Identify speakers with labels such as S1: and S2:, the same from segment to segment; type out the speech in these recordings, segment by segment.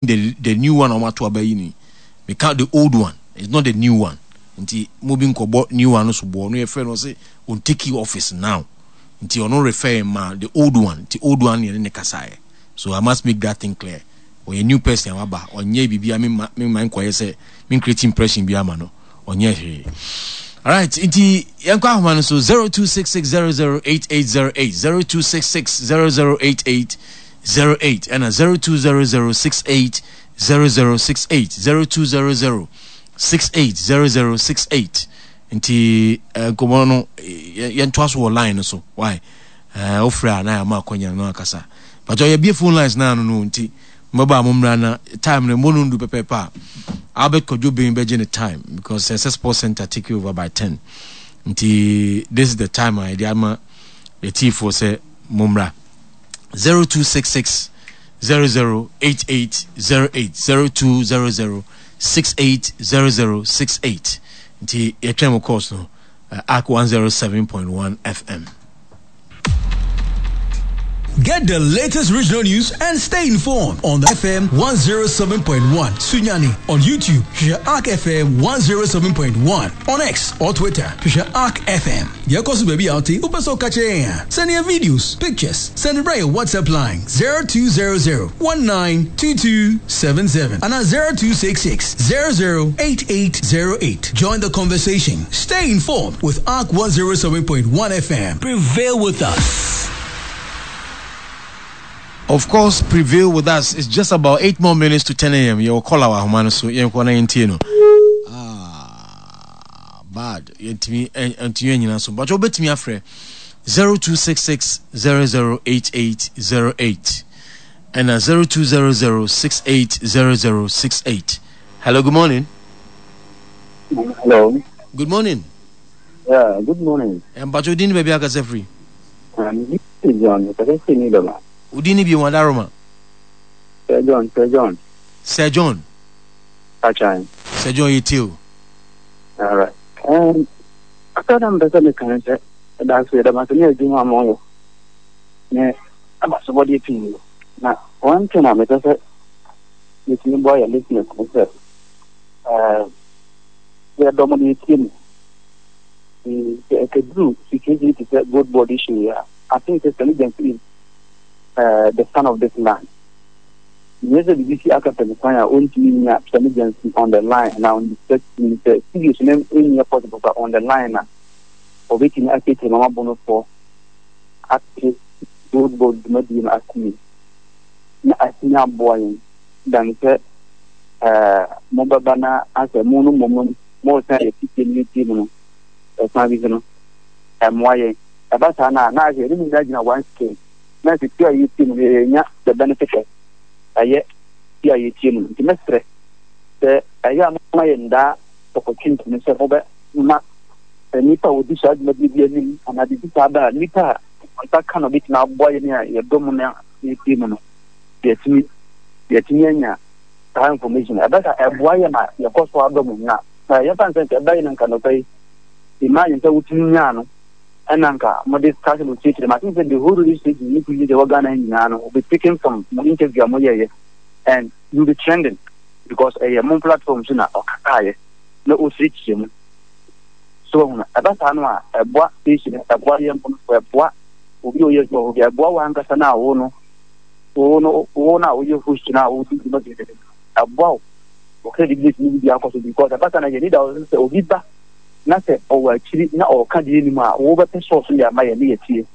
S1: The the new one a wɔato aba yi ni meka the old one it's not the new one nti mo bi nkɔbɔ new one no so boɔ no yɛfrɛ no ɔse on take you office now nti ɔno refer ma the old one nti old one yɛne ne kasaeɛ so I must make that thing clear ɔyɛ new person a waba ɔnyɛ biribi a mema mema nkɔyɛ sɛ me create impression bi ama no ɔnyɛ hwee alright nti yɛnkɔ ahoma no so 0266008808 02660088 08 ɛna 0200 68 0068 0200 68 0068 nti eh, nkɔmmɔ no eh, yɛntoa so wɔ line no so why eh, wofrɛ a na yɛama akwanya no akasa but yɛbie phone lines no ano no nti mbɛba a mommra na time no mmɔ no ndu pɛpɛɛpɛ a Albert Kwadwo Ben bɛgye ne time because ɛsɛ sports center take over by 10 nti this is the time a yɛde ama yɛtiefoɔ sɛ mommra 0266 008808 0200 680068 nti yɛtwɛn mo course no uh, arc 107.1 fm
S2: Get the latest regional news and stay informed on the FM 107.1 Sunyani on YouTube, hwehwɛ Ark FM 107.1 on X or Twitter, hwehwɛ Ark FM. Deɛ ɛkɔ so baabi a wote, wopɛ sɛ woka kyerɛ yɛn a, send yɛn videos, pictures, send brɛ yɛn WhatsApp line 0200 192277 anaa 0266 008808. Join the conversation. Stay informed with Ark 107.1 FM. Prevail with us.
S1: Of course, prevail with us. It's just about 8 more minutes to 10 a.m. Yɛwɔ call our ahoma no so. Yɛnkɔ na yɛntie no. Ah, bad. Yɛntumi ntumi anyina so. But wobɛtumi afrɛ 0266 008808 ɛna 0200 680068. Hello, good morning.
S3: Hello.
S1: Good morning.
S3: Yeah, good morning.
S1: Mpacho din baabi akasa firi.
S3: John, kasa firi ni dɔma.
S1: Odin ni bi wɔn adaroma.
S3: Sir John, Sir John.
S1: Sir John.
S3: Achan.
S1: Sir John yɛ tie o.
S3: Alright. Um, aka na mpɛ sɛ meka ne sɛ ɛda so yɛda ase ne adwuma a moyɛ ne abasobɔdeɛ pii na one thing a mepɛ sɛ metumi boa yɛ listeners ne sɛ yɛdɔ mo no yɛtie mu sɛ ɛkɛduru situation te sɛ gold board issue yi a I think sɛ Sani Gyamfi is the son of this land nyɛ sɛ biribi si aka pɛ no kwan a ɔntumi nya Sani Gyamfi on the line na on the set sɛ studios no ɛnyɛ possible but on the line a ɔbɛtumi akyerɛkyerɛ mama bonofoɔ ate gold board dwumadie no ase yie na atumi aboa yɛn dan sɛ mobɛba na asɛ mo no mmom no moresan yɛ titie no tie mu no ɛkwan bi so no ɛmmoa yɛn ɛba saa no a na asɛ yɛne mu nyinaa gyina one scale na sɛ tie a yɛtie mu no yɛnya the benefit of ɛyɛ tie a yɛtie mu no nti mɛsrɛ sɛ ɛyɛ a moma yɛn daa opportunity no sɛ mobɛma nnipa a wɔdi saa dwumadie bi anim anaa biribi saa ba a nnipa a nsa ka no bɛtumi aboa yɛn a yɛdɔ mu no a yɛtie mu no yɛatumi yɛatumi anya saa information ɛbɛ sa ɛboa yɛ ma yɛkɔ so adɔ mu na na yɛmfa nsɛ nka ɛbɛyɛ no nka nɔpɛ yi imagine sɛ wotumi nyaa no ɛna nka mode saa sɛ mokyerɛkyerɛ ma sɛ the whole radio station ne TV sɛ wɔ Ghana nyinaa no will be taken from mo interview a moyɛyɛ and you be trending because ɛyɛ mo platform so na ɔkasaeɛ na ɔkyerɛkyerɛ mu so ahunu ɛba saa no a ɛboa station ɛboa yɛn mpo no ɛboa obi a ɔyɛ adwuma wɔ bi ɛboa wo ankasa no a wo no wo no wo no a woyɛ host no a wodi dwuma bi ɛboa wo wo credibility no bi akɔ so because ɛba saa na yɛni da sɛ obi ba na sɛ ɔwɔ akyiri na ɔka deɛ anim a wobɛpɛ source no de ama yɛ ne yɛtie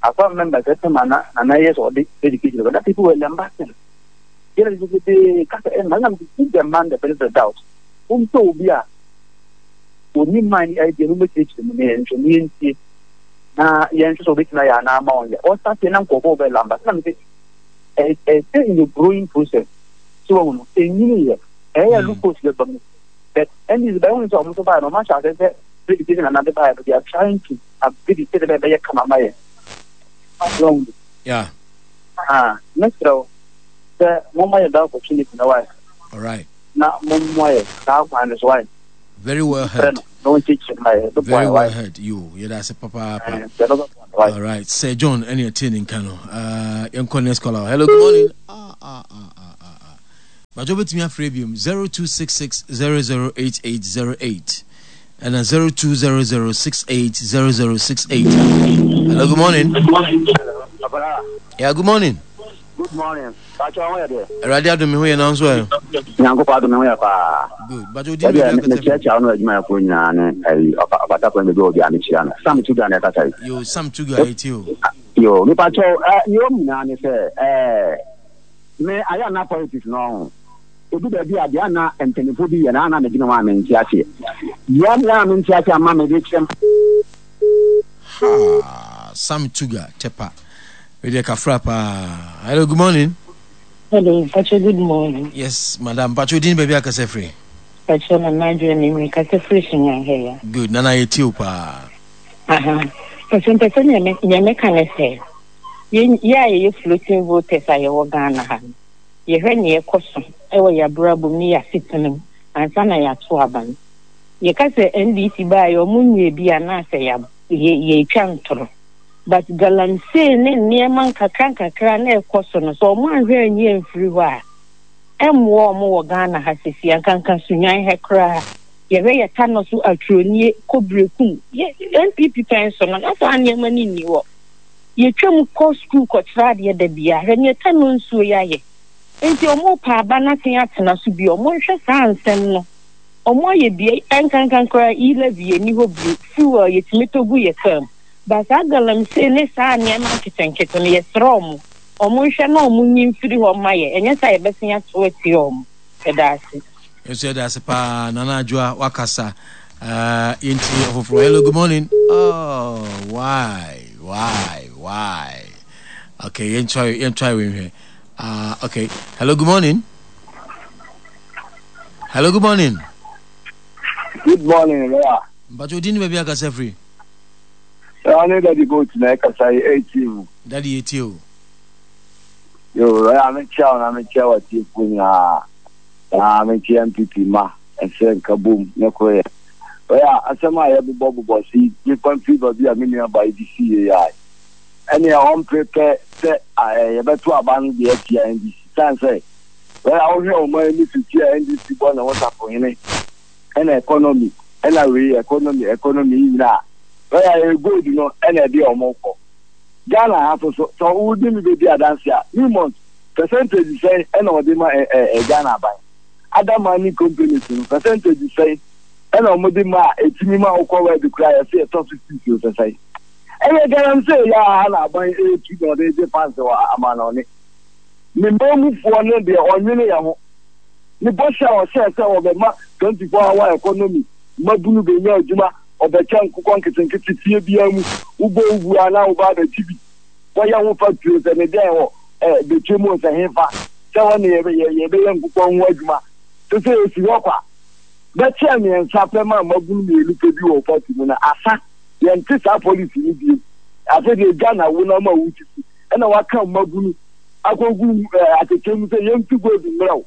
S3: afa member sɛ tɛma na na na ɛyɛ sɛ ɔde education but that people were lambasting yɛrɛ de bebree kasa ɛma na give the man the benefit of doubt wompɛ obi a ɔni man ne idea no mɛkyerɛkyerɛ mu ne yɛnhwɛ ne yɛntie na yɛnhwɛ sɛ ɔbɛtumi ayɛ anaa ma ɔnyɛ ɔsate na nkurɔfoɔ bɛ lamba sɛ na mese ɛsɛ in the growing process so wɔn no ɛnyini yɛ ɛyɛ hmm. loopholes bɛba mu but ɛne bɛyɛ wɔn sɛ wɔn nso baeɛ no wɔn ahyɛ ase sɛ education na nade baeɛ no they are trying to upgrade it sɛ ɛbɛyɛ kama ma yɛ wɔn
S1: yeah
S3: ah mesrɛ wo sɛ momma yɛ that opportunity na wayɛ
S1: all right
S3: na mommoa yɛ saa kwan no so wayɛ
S1: Very well heard. Very well heard. You, yeah, that's a papa. All right, Sir John, any attending cano. Young next caller. Hello, good morning. Ah, ah, ah, ah, ah. Mpakyɛ wobɛtumi afrɛ biom 0266 008808 ɛna 0200 680068. Hello, good morning.
S4: Good morning.
S1: Yeah, good morning.
S4: Good morning. Pacho ho yɛ deɛ.
S1: Awurade adom me ho yɛ nanso ɛ.
S4: Nyankopɔn adom me ho yɛ paa.
S1: Good. Pacho di mi
S4: akasa. Me kyerɛkyerɛ wo no adwumayɛfoɔ nyinaa ne ayi ɔbata kwan baabi a obi a mekyia no. Sam Tuga na ɛkasa
S1: yi. Yo, Sam Tuga ɛti o.
S4: Yo, me pacho eh ne wɔm nyinaa ne sɛ eh me ayɛ na politics no ho. Edu baabi a deɛ ana mpanyinfoɔ bi yɛ na ana medwene ho a mente aseɛ. Deɛ ana mente aseɛ ama mede kyerɛ
S1: Ha, Sam Tuga Tepa. Wei deɛ kafra paa. Hello, good morning.
S5: Hello, Pacho, good morning.
S1: Yes, madam. Pacho, din baabi akasa firi?
S5: Pacho, Nana Adwoa ni mi kasa firi Sunyani ha ya.
S1: Good, Nana yɛ tie o paa.
S5: Aha. Pacho, mpɛ sɛ nea meka ne sɛ, yɛ a yɛyɛ floating voters a yɛwɔ Ghana ha no, yɛhwɛ nea ɛkɔ so wɔ yɛn abrabɔ mu ne yɛn asetena mu ansa na yɛato aba no. Yɛka sɛ NDC baeɛ ɔmo nyɛɛ bi anaasɛ yɛtwa ntoro. But galamsey ne nneɛma nkakra nkakra na ɛkɔ so no, sɛ ɔmo anhwɛ anyi amfiri hɔ a, ɛmmoa ɔmo wɔ Ghana ha sisi, ankanka Sunyani ha koraa. Yɛhwɛ yɛ Tano so Atronie, Kobrekum, yɛ NPP pɛn so no, na saa nneɛma no nni hɔ. Yɛtwam kɔ sukuu kɔkyerɛ adeɛ da biara, hwɛ neɛ Tano nsuo yi ayɛ. Nti ɔmo pɛ aba no asen atena so bio, ɔmo nhwɛ saa nsɛm no. Ɔmo ayɛ bi, ɛnkanka koraa E-levy nni hɔ bio, fuel yɛtumi tɔ gu yɛ kaa mu. But saa galamsey ne saa nneɛma nketenkete no yɛsrɛ ɔmo, ɔmo nhwɛ na ɔmo nyi mfiri hɔ mma yɛ, ɛnyɛ saa yɛbɛsen ato atia ɔmo. Yɛda ase.
S1: Yɛnso yɛda ase paa Nana Adwoa wakasa. Uh, yɛnti ɔfoforɔ. Hello, good morning. Oh, why, why, why? Okay, yɛntry, yɛntry wei nhwɛ. Okay, hello, good morning. Hello, good morning.
S6: Good morning, Lawyer.
S1: Mpacho odin baabi akasa firi.
S6: Ɛwɔ ne Daddy Goat na ɛkasa yi ɛretie mu.
S1: Daddy yɛtie o.
S6: Yo, ɛyɛ a mekyia wo na mekyia w'atiefoɔ nyinaa. Na mekyia MPP ma ɛsɛ nka bom ne koroyɛ. Ɛyɛ a asɛm a yɛbobɔbobɔ so yi mefa mfiri baabi a me nua ba yi de si yie a ɛneɛ ɔmpere pɛ sɛ yɛbɛto aba no deɛ atia NDC. Sane sɛ ɛyɛ a wohwɛ ɔman ani so ti a NDC bɔ ne ho safohene ɛna economy ɛna wei economy economy yi nyinaa bɛyɛ a ɛyɛ gold no ɛna ɛde ɔmo kɔ Ghana ha so so sɛ wodi mi bedi adanse a Newmont percentage sɛn ɛna ɔde ma ɛ ɛ ɛ Ghana aban other mining companies no percentage sɛn ɛna ɔmo de ma a etimi ma wokɔ wɛdi koraa yɛsɛ yɛtɔ so sisi o sɛ sɛn ɛyɛ galamsey yɛ a na aban etu na ɔde gye fans wɔ amanɔne ne mmamufoɔ no deɛ ɔnwene yɛ ho. Ne bɔhyɛ a ɔhyɛɛ sɛ ɔbɛma 24 hour economy, mmabunu bɛnya adwuma, ɔbɛkyɛ nkokɔ nketenkete fie biara mu, wobɔ wo bu a na woba abɛgye bi, kɔyɛ ho factory o sɛ ne dɛn wɔ eh, bɛkyɛ mu o sɛ hefa, sɛ hɔ ne yɛbɛyɛ nkokɔ ho adwuma. Te sɛ ɛsi hɔ kwa. Bɛkyɛɛ mmiɛnsa pɛ ma mmabunu mmienu pɛ bi wɔ party mu no, asa. Yɛnte saa policy no bio. Afei deɛ gya na wo na ama wo sisi, ɛna waka mmabunu akɔgu atɛkyɛ mu sɛ yɛntu gold mmerɛ wo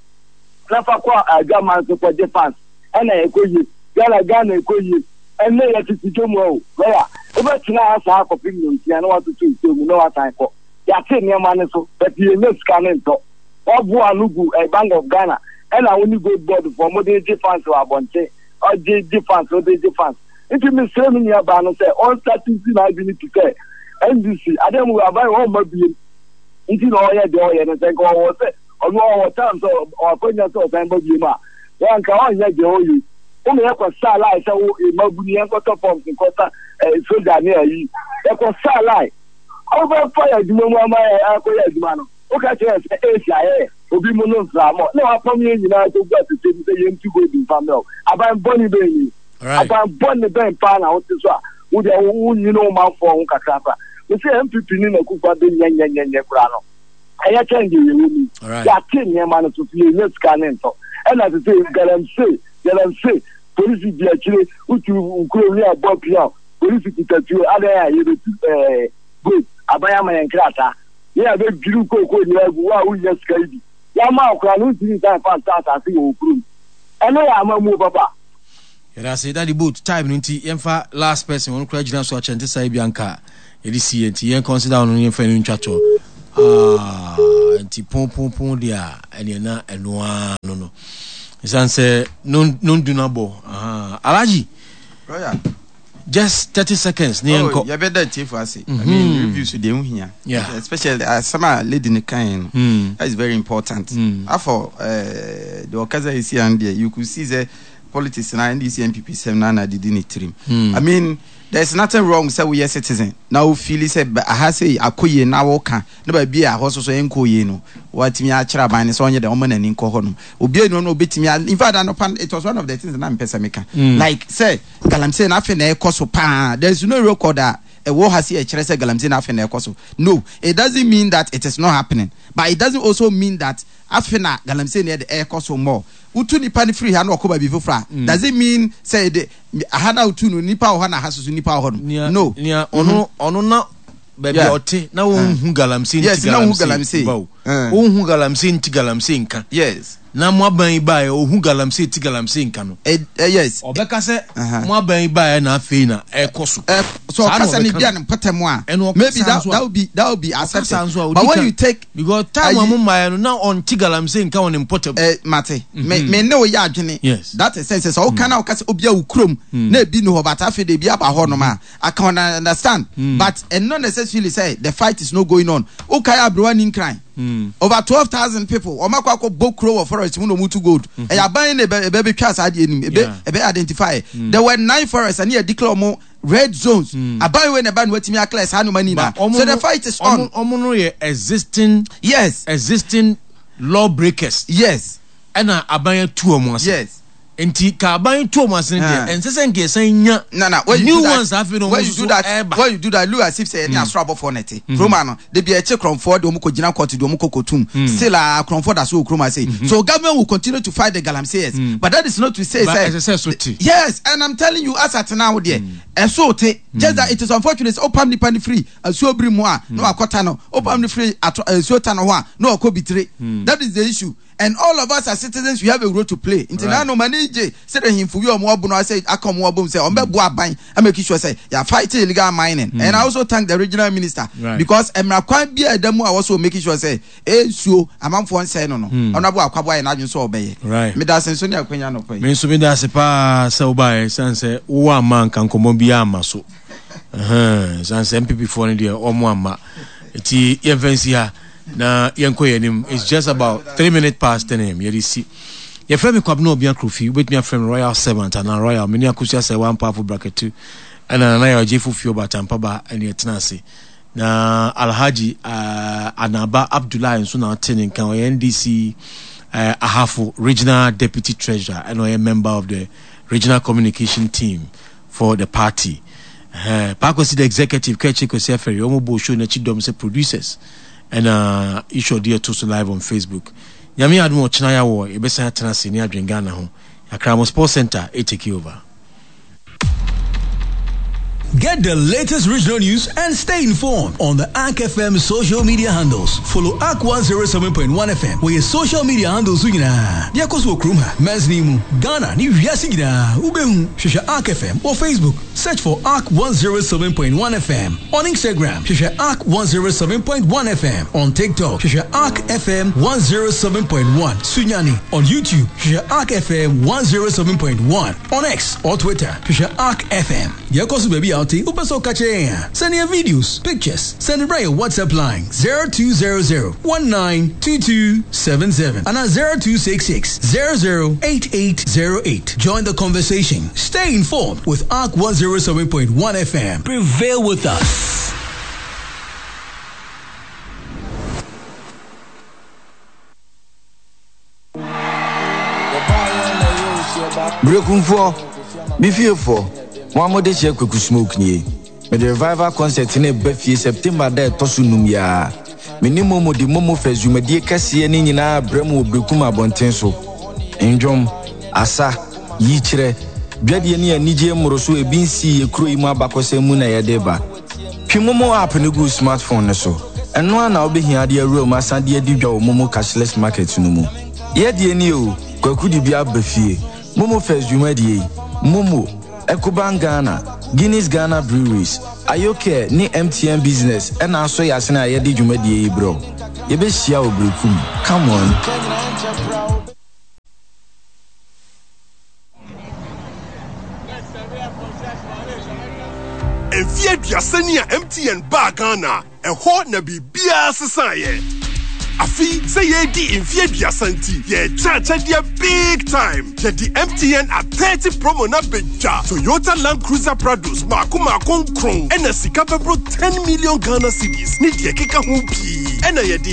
S6: na fa kɔ adwaman so kɔgye fans ɛna ɛkɔ yie Ghana Ghana ɛkɔ yie ɛnɛ yɛtete dwom o lɔya wobɛtena ha saa kɔpem nnɔnsia na watoto nsuo mu na wasan kɔ yɛate nneɛma no so but yɛnya sika ne ntɔ waboa ano gu eh, Bank of Ghana ɛna wo ne gold board foɔ mode gye fans wɔ abɔnten ɔgye gye fans wode gye fans nti mesrɛ me nua baa no sɛ ɔnsate nsi n'adwene ti sɛ NDC adeɛ mu aban wɔmma biem nti na ɔyɛ deɛ ɔyɛ no sɛ nka ɔwɔ sɛ ɔno ɔwɔ time sɛ ɔakɔnya sɛ ɔsan ba biem a wɔn nka ɔnyɛ deɛ ɔyɛ yi wɔn yɛ kɔ saa line sɛ wo mmabunu yɛn kɔtɔ forms nkɔsa ɛɛ soja ne ayi yɛkɔ saa line ɔbɛfa yɛ adwuma mu ama yɛ akɔyɛ adwuma no woka kyerɛ sɛ esi ayɛ obi mu no mframɔ na wapam yɛn nyinaa kɔgu atete mu sɛ yɛn tu gold mfa mmerɛw aban bɔne bɛn ni aban bɔne bɛn paa na wote so a wo deɛ wonyini wo manfoɔ ho kakra koraa. Mese NPP ne Nakufa de nyɛnyɛnyɛnyɛ koraa no ɛyɛ kyɛn deɛ yɛwɔ mu yi. Yɛate nneɛma no so so yɛnya sika ne ntɔ. Ɛna sese galamsey galamsey polisi di akyire wotu nkurom ne abɔ pia polisi kuta tuo adɛn a yɛbɛtu ɛɛ gold aban ama yɛn krataa ne yɛabɛdwiri kookoo nyinaa agu wo a wonnya sika yi bi yɛama wo koraa no wontumi nsan mfa ntɔ asase wɔ wo kurom ɛno yɛ amammuo papa.
S1: Yɛda ase daddy boat time no nti yɛmfa last person ɔno koraa gyina so akyɛ nte saa ebi anka yɛde si yɛ nti yɛn consider ɔno yɛmfa no ntwa toɔ. Ah, nti pon pon pon deɛ a ɛneɛ na ɛno ara no no. Ɛsiane sɛ nondu no abɔ. Alhaji.
S7: Royal.
S1: Just 30 seconds ne yɛnkɔ.
S7: Oh, yɛbɛda atiefo ase. I mean, mm-hmm. reviews deɛ ho hia.
S1: Yeah.
S7: Especially asɛm a lady no kan no. Mm. That is very important. Mm. Afɔ eh, deɛ ɔkasa esi an deɛ you could see sɛ politics na NDC NPP sɛm na na didi ne tirim. Mm. I mean, there is nothing wrong sɛ woyɛ citizen na wo feel sɛ aha sei akɔ yie na woka na baabi a hɔ soso ɛnkɔ yie no watumi akyerɛ aban no sɛ ɔnyɛ dɛ ɔma n'ani nkɔ hɔ nom obi enu no obetumi in fact anɔpa it was one of the things na mpɛ sɛ meka mm. like sɛ galamsey na afei na ɛkɔ so paa there is no record a ɛwɔ ha si ɛkyerɛ sɛ galamsey na afei na ɛkɔ so no it doesn't mean that it is not happening but it doesn't also mean that afei na galamsey na ɛde ɛkɔ so more wotu nipa no firi ha na ɔkɔ baabi foforɔ a does it mean sɛ ɛde aha na wotu no nipa wɔ hɔ na aha soso nipa wɔ hɔ no no
S1: nea ɔno ɔno na baabi a ɔte na wɔnhu galamsey nti galamsey ba o wɔnhu galamsey nti galamsey nka
S7: yes
S1: na mo aban yi baeɛ ɔhu galamsey ti galamsey nka no
S7: eh, eh, yes
S1: ɔbɛka sɛ mo aban yi baeɛ na afei na ɛkɔ so
S7: so ɔkasa ne bia ne mpɔtam a maybe that, that will be that will be accepted but when you take
S1: because time a mo mmaeɛ no na ɔnte galamsey nka wɔ ne mpɔtam
S7: eh, mate me mm-hmm. me ne wo yɛ adwene
S1: yes
S7: that is sense sɛ ɔka na ɔka sɛ obi a wo kurom mm. na ebi ni hɔ but afei de ebi aba hɔ nom a I can understand mm. but and not necessarily say the fight is not going on wokae aberewa ni nkran mm. over 12,000 people wɔn akɔ akɔ bɔ kuro wɔ forest mu na wɔn tu gold mm-hmm. ɛyɛ aban na ebe ebe twa saa adeɛ nim ebe ebe identify mm. there were nine forests ɛne yɛ declare wɔn red zones mm. aban wei na ɛba na wɔatumi aclear saa nneɛma nyinaa so the fight is on.
S1: wɔn no yɛ existing.
S7: Yes.
S1: Existing law breakers.
S7: Yes.
S1: Ɛna aban atu wɔn ase.
S7: Yes.
S1: Nti ka aban tu wɔn ase no deɛ ɛnsɛ sɛ nka yɛsan nya
S7: No, no. When you
S1: new
S7: do that,
S1: ones afei na wɔn
S7: when you
S1: nso
S7: do
S1: so
S7: that,
S1: ɛreba.
S7: when you do that, look as if sɛ yɛne asoro abɔfoɔ na ɛte. Kurom ha no, da bi ɛkye korɔmfoɔ de wɔn kɔ gyina court de wɔn kɔ kɔtum. Still a korɔmfoɔ da so wɔ kurom ha sei. So government will continue to fight the galamseyers. But that is not to say
S1: But
S7: sɛ
S1: ɛsɛ sɛ ɛso te.
S7: Yes, and I'm telling you as at now deɛ, ɛso te. Just that it is unfortunate sɛ wopam nipa no firi asuo biri mu a na wakɔta no, wopam no firi atɔ nsuo ta no ho a na wakɔ bitire. That is the issue. And all of us as citizens we have a role to play. Nti na no m'ani gye sɛdeɛ ahemfo bi a wɔn abono asɛ aka wɔn abom sɛ wɔn bɛboa aban a make sure sɛ yɛ fight illegal mining. And I also thank the regional minister because mmara kwan bi a ɛda mu a wɔsɔ make sure sɛ nsuo amanfoɔ nsɛe no no Honourable Akwaboah ayɛ n'adwene sɛ ɔbɛyɛ. Meda ase nso ne akwanya anɔpa yi.
S1: Me nso meda ase paa sɛ wobaeɛ ɛsiane sɛ wowɔ amma anka nkɔmmɔ biara amma so. Ɛsiane sɛ MPP foɔ no deɛ wɔn amma. Nti yɛmfa nsi ha. Na yɛnkɔ yɛn anim. It's just about 10:03 am. Yɛde si. Yɛfrɛ me Kwabena Obia Kofi. Wobɛtumi afrɛ me Royal Servant anaa Royal. Me ne Akosua Sɛwa Ampaafo Brakatu ɛna Nana Yaw Gyefo Fio Batampa Ba ɛne ɛtena ase. Na Alhaji uh, Anaba Abdullahi nso na ɔte ne nka. Ɔyɛ NDC uh, Ahafo Regional Deputy Treasurer ɛna ɔyɛ member of the Regional Communication Team for the party. Ɛhɛn, Paa Kwesi the executive, Kɛkyɛ Kwesi Afɛri, wɔn bɔ show n'akyi dɔm sɛ producers. Ɛna Isho de ɛto so live on Facebook. Nyame adom ɔkyena ya wɔ yɛbɛsan atena ase ne adwen Ghana ho. Akramo Sports Center e take over.
S2: Get the latest regional news and stay informed on the Ark FM social media handles. Follow Ark 107.1 FM wɔ yɛ social media handles so nyinaa. Deɛ ɛkɔ so wɔ kurom ha, mansini mu, Ghana ne wiase nyinaa, wobɛhu. Hwehwɛ Ark FM wɔ Facebook, search for Ark 107.1 FM. On Instagram, hwehwɛ Ark 107.1 FM. On TikTok, hwehwɛ Ark FM 107.1 Sunyani. On YouTube, hwehwɛ Ark FM 107.1. On X or Twitter, hwehwɛ Ark FM. Deɛ ɛkɔ so baabi a wote, wopɛ sɛ woka kyerɛ yɛn a, send yɛn videos, pictures, send brɛ yɛn WhatsApp line 0200 192277 anaa 0266 008808. Join the conversation. Stay informed with Ark 107.1 FM. Prevail with us.
S8: Berekumfoɔ, me fiefoɔ, mo a mode hyɛ Kweku Smoke nie. Mede Revival Concert no reba fie September da a ɛtɔ so num yi ara. Me ne Momo de Momo Fest dwumadie kɛseɛ no nyinaa rebrɛ mo wɔ Berekum abɔnten so. Nnwom, asa, yikyerɛ, dwadie ne anigyeɛ mmoroso a ebi nsii yɛ kuro yi mu abakɔsɛm mu na yɛde reba. Twe Momo app no gu wo smartphone no so. Ɛno ara na wobɛhia de awura mu asan de adi dwa wɔ Momo Cashless Market no mu. Yɛ deɛ nie o, Kwaku de bi aba fie. Momo Fest dwumadie yi, Momo, Ecobank Ghana, Guinness Ghana Breweries, Ayocare ne MTN Business na asɔ yɛn asene a yɛde dwumadie yi brɛ wo. Yɛbɛhyia wɔ Berekum. Come on!
S9: Mfeɛ aduasa ni a MTN baa Ghana, ɛhɔ na biribiara sesaeɛ. Afe sɛ yɛredi mfeɛ aduasa nti, yɛrekyɛ akyɛdeɛ big time. Yɛde MTN at 30 promo no abɛdwa. Toyota Land Cruiser Prados mmaako mmaako nkron ɛna sika bɛboro 10 million Ghana cedis ne deɛ ɛkeka ho pii ɛna yɛde.